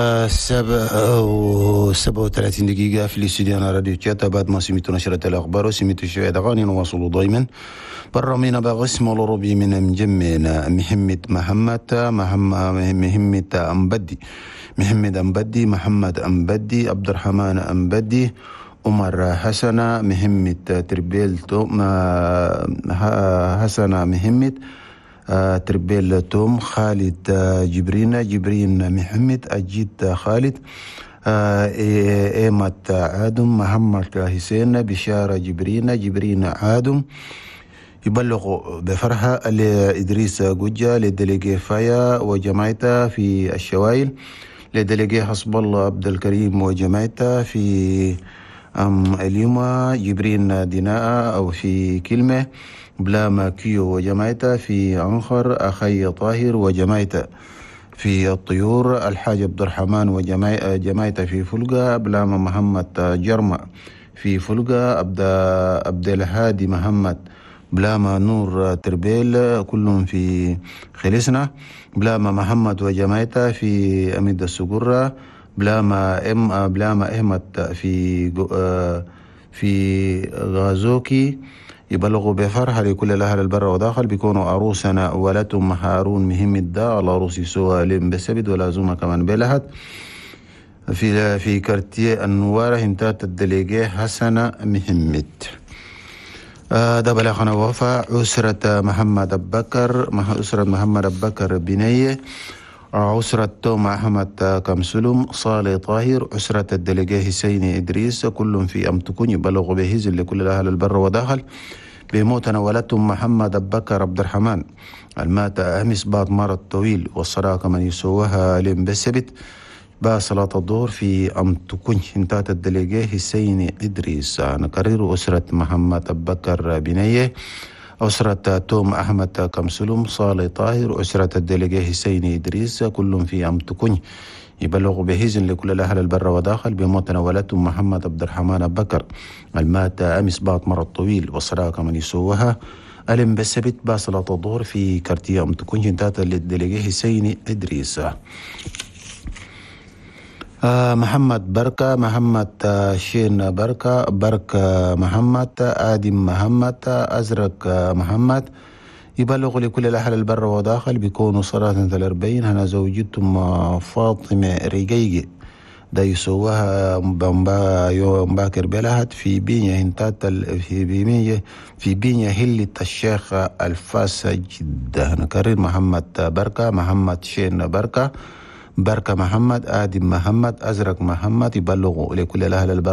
7:37 دقيقة في الاستوديو راديو تشاتا. بعد ما سمعتوا نشرة الأخبار وسمعتوا شوية أغاني، نواصلوا دايما برامينا بقسم الأوروبي من مجمعنا محمد محمد محمد أمبدي، محمد أمبدي، محمد أمبدي، عبد الرحمن أمبدي، عمر حسنة، محمد تربيل توم، حسنة محمد تربيل توم، خالد جبرين، جبرين محمد، أجيد خالد، إيمت عادم، محمد حسين، بشارة جبرين، جبرين عادم. يبلغ بفرحة لإدريس جوجا، لدليجي فايا وجماعته في الشوايل، لدليجي حسب الله عبد الكريم وجماعته في اليوم، جبرين ديناء أو في كلمة، بلاما كيو وجماعته في عنخر، أخي طاهر وجماعته في الطيور، الحاج عبد الرحمن وجماعته في فلقة، بلاما محمد جرمة في فلقة، عبد الهادي محمد، بلاما نور تربيل، كلهم في خلصنا، بلاما محمد وجماعته في أميد السقرة، بلاما بلاما أحمد في غازوكي. يبلغوا بفرحة لكل الأهل البر وداخل بيكونوا عروسنا ولتم هارون مهم الدا العروس سوى لم بسبد ولا زوما كمان بلهت في كارتيه النوارة انتات الدليجي حسنة مهمت. ده بلغنا وفا أسرة محمد أبكر، أسرة محمد أبكر بنية، أسرة توم أحمد كمسلم، صالح طاهر، أسرة الدليجي حسين إدريس، كلهم في أمتكون. يبلغ بهزل لكل الأهل البر وداخل بموتنا ولدتم محمد أبكر عبد الرحمن المات أمس بعد مرض طويل، والصلاة كمن يسوها لم بسبت با صلاة الظهر في أمتكون انتات الدليجي حسين إدريس. نكرر أسرة محمد أبكر بنية، أسرة توم أحمد كمسلم، صالح طاهر، أسرة الدليجي حسين إدريس، كلهم في أمتكون. يبلغ بهزن لكل الأهل البر وداخل بموت ولدتم محمد عبد الرحمن أبكر المات أمس بعد مرض طويل، والصلاة كمن يسوها ألم بسبت با صلاة الظهر في كارتية أمتكون انتات الدليجي حسين إدريس. محمد بركة، محمد شين بركة، بركة محمد، آدم محمد، أزرق محمد. يبلغ لكل الأهل البر وداخل بيكونوا صلاة 40. هنا زوجتهم فاطمة ريجيجي ده يسوها يوم باكر بلهت في بينيا هنتات في بينيا هلة الشيخ الفاس جدة. نكرر محمد بركة، محمد شين بركة، بركة محمد، آدم محمد، أزرق محمد. يبلغوا لكل الأهل البر